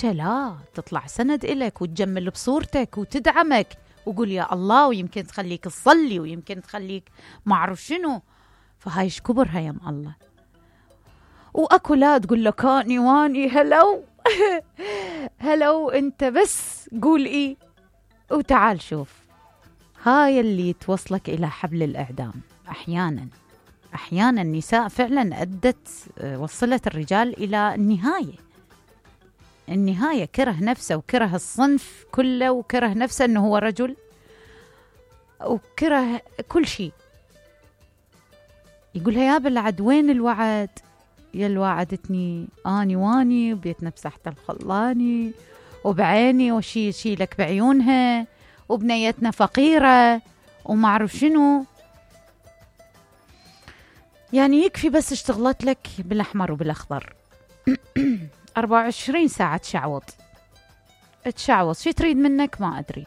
لا تطلع سند إلك وتجمل بصورتك وتدعمك وقول يا الله، ويمكن تخليك تصلي ويمكن تخليك ما أعرف شنو. فهاي كبرها يم الله. وأكو لا تقول لك أني واني هلو هلو، أنت بس قول إيه وتعال شوف. هاي اللي توصلك إلى حبل الإعدام. أحيانا النساء فعلا وصلت الرجال إلى النهاية كره نفسه وكره الصنف كله وكره نفسه أنه هو رجل وكره كل شيء. يقولها يا بلعد وين الوعد؟ يا اللي وعدتني أني واني وبيتنا بساحة الخلاني وبعيني وشي لك بعيونها وبنيتنا فقيرة وما أعرف شنو. يعني يكفي بس اشتغلت لك بالأحمر وبالأخضر 24 ساعة تشعوط شي تريد منك ما أدري.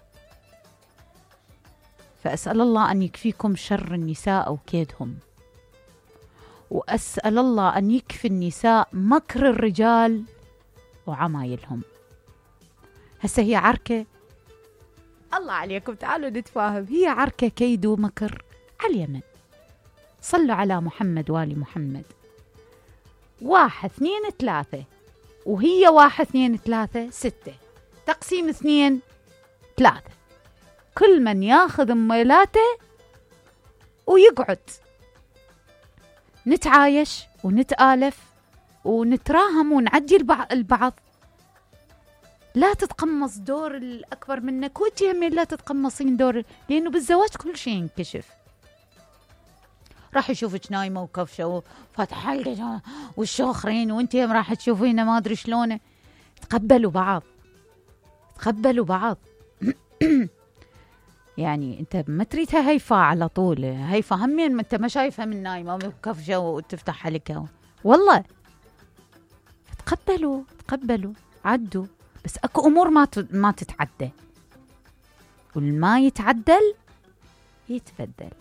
فأسأل الله أن يكفيكم شر النساء وكيدهم، وأسأل الله أن يكفي النساء مكر الرجال وعمايلهم. هسه هي عركة، الله عليكم تعالوا نتفاهم، هي عركة كيد ومكر على اليمن. صلوا على محمد وآل محمد. 1 2 3 وهي 1 2 3 6 تقسيم 2 3. كل من ياخذ ميلاته ويقعد نتعايش ونتآلف ونتراهم ونعدي البعض. لا تتقمص دور الأكبر منك، وانتي همين لا تتقمصين دور، لأنه بالزواج كل شيء ينكشف. راح يشوفك نايمة وكفشة وفاتحة حلقة والشوخرين، وانتي هم راح تشوفينه ما أدري شلونه. تقبلوا بعض يعني انت ما تريدها هيفا على طول، هيفا همين انت ما شايفها من نايمة وكفشة وتفتح حلقة والله. تقبلوا عدوا، بس اكو امور ما تتعدى، والما يتعدل يتبدل.